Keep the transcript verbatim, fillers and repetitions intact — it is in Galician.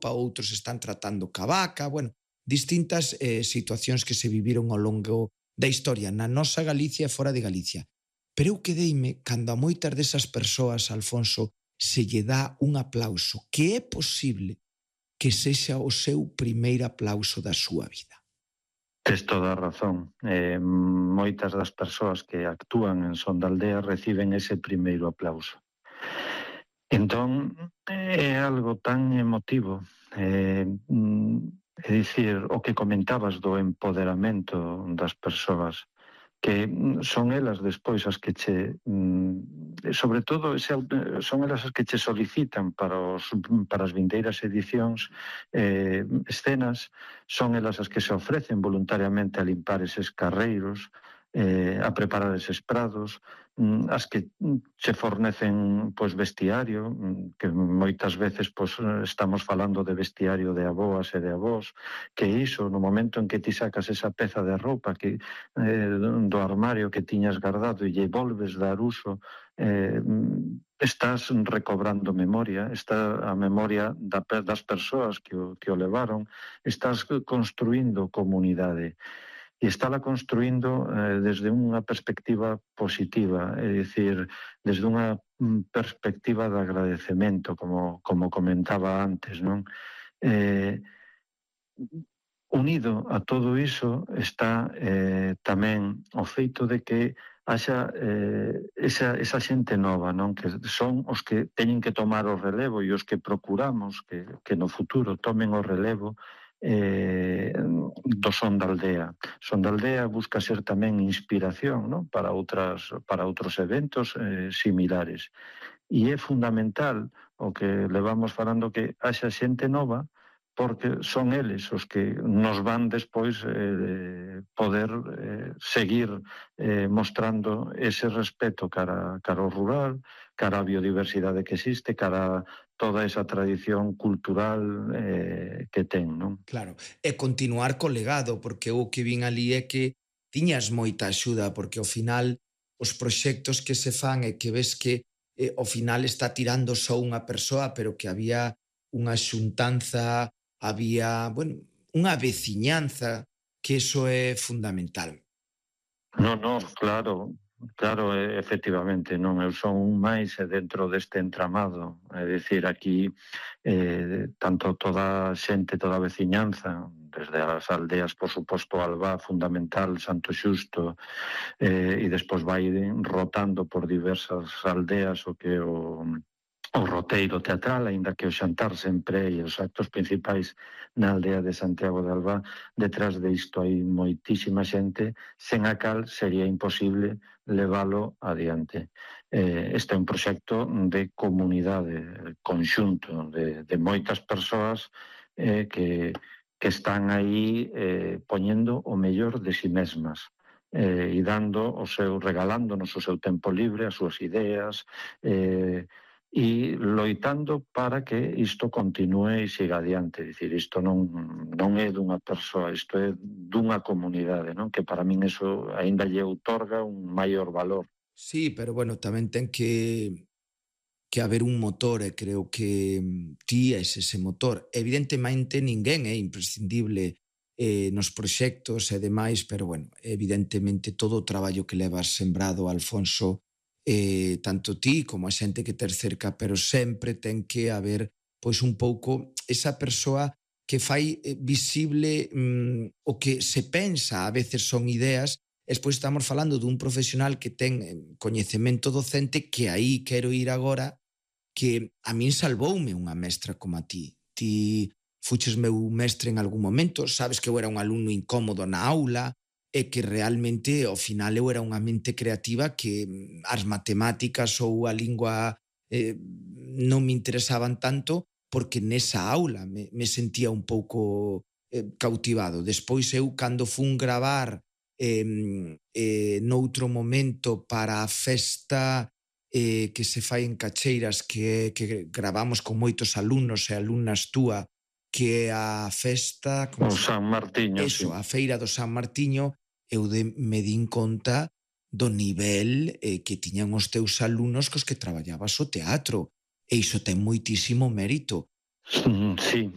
outros están tratando ca vaca, bueno, distintas eh, situacións que se viviron ao longo da historia na nosa Galicia e fora de Galicia. Pero eu quedeime cando a moitas desas persoas, Alfonso, se lle dá un aplauso, que é posible que sexa o seu primeiro aplauso da súa vida. Tes toda a razón. Eh, moitas das persoas que actúan en Son da Aldea reciben ese primeiro aplauso. Entón, é algo tan emotivo. Eh, é dicir, o que comentabas do empoderamento das persoas, que son elas despois as que che, sobre todo, son elas as que che solicitan para, os, para as vindeiras edicións eh, escenas, son elas as que se ofrecen voluntariamente a limpar eses carreiros, eh, a preparar eses prados, as que che fornecen pois, vestiario, que moitas veces pois, estamos falando de vestiario de aboas e de avós, que iso, no momento en que ti sacas esa peza de roupa que, eh, do armario que tiñas guardado e lle volves dar uso, eh, estás recobrando memoria, está a memoria da, das persoas que o, que o levaron, estás construindo comunidade. E estála construindo eh, desde unha perspectiva positiva, é dicir, desde unha perspectiva de agradecemento, como, como comentaba antes, non? Eh, unido a todo iso está eh, tamén o feito de que haxa eh, esa, esa xente nova, non? Que son os que teñen que tomar o relevo e os que procuramos que, que no futuro tomen o relevo eh, do Son da Aldea. Son da Aldea busca ser tamén inspiración, non? Para outras, para outros eventos eh, similares. E é fundamental o que levamos falando que haxa xente nova, porque son eles os que nos van despois eh, poder eh, seguir eh, mostrando ese respeto cara, cara ao rural, cara á biodiversidade que existe, cara a toda esa tradición cultural eh, que ten, non? Claro, e continuar co legado, porque o que vin ali é que tiñas moita axuda, porque ao final os proxectos que se fan e que ves que eh, ao final está tirando só unha persoa, pero que había unha xuntanza, había, bueno, unha veciñanza, que iso é fundamental. Non, non, claro, claro, efectivamente, non, eu son un máis dentro deste entramado, é dicir, aquí eh, tanto toda a xente, toda a veciñanza, desde as aldeas, por suposto, Albá, fundamental, Santo Xusto, eh, e despois vai rotando por diversas aldeas o que o... o roteiro teatral, aínda que o xantar sempre e os actos principais na aldea de Santiago de Albá, detrás de isto hai moitísima xente, sen a cal sería imposible leválo adiante. Eh, este é un proxecto de comunidade, conxunto, de, de moitas persoas eh, que, que están aí eh, poñendo o mellor de si mesmas. Eh, e dando o seu, regalándonos o seu tempo libre, as súas ideas, eh, e loitando para que isto continue e siga adiante. Dicir, isto non, non é dunha persoa, isto é dunha comunidade, non? Que para min eso aínda lle outorga un maior valor. Sí, pero bueno, tamén ten que que haber un motor e creo que ti és ese motor. Evidentemente ninguén é imprescindible eh, nos proxectos e demais, pero bueno, evidentemente todo o traballo que levas sembrado, Alfonso, eh, tanto ti como a xente que ter cerca, pero sempre ten que haber pois un pouco esa persoa que fai eh, visible mm, o que se pensa, a veces son ideas, e despois estamos falando dun profesional que ten coñecemento docente, que aí quero ir agora, que a min salvoume unha mestra como a ti. Ti fuches meu mestre en algún momento, sabes que eu era un alumno incómodo na aula, e que realmente ao final eu era unha mente creativa que as matemáticas ou a lingua eh, non me interesaban tanto porque nesa aula me, me sentía un pouco eh, cautivado. Despois eu cando fun gravar eh, eh, noutro momento para a festa eh, que se fai en Cacheiras, que, que gravamos con moitos alumnos e alumnas túa, que é a festa... O San Martiño, eso, sí. A feira do San Martiño, eu de, me din conta do nivel eh, que tiñan os teus alumnos cos que traballabas o teatro. E iso ten moitísimo mérito. Sí,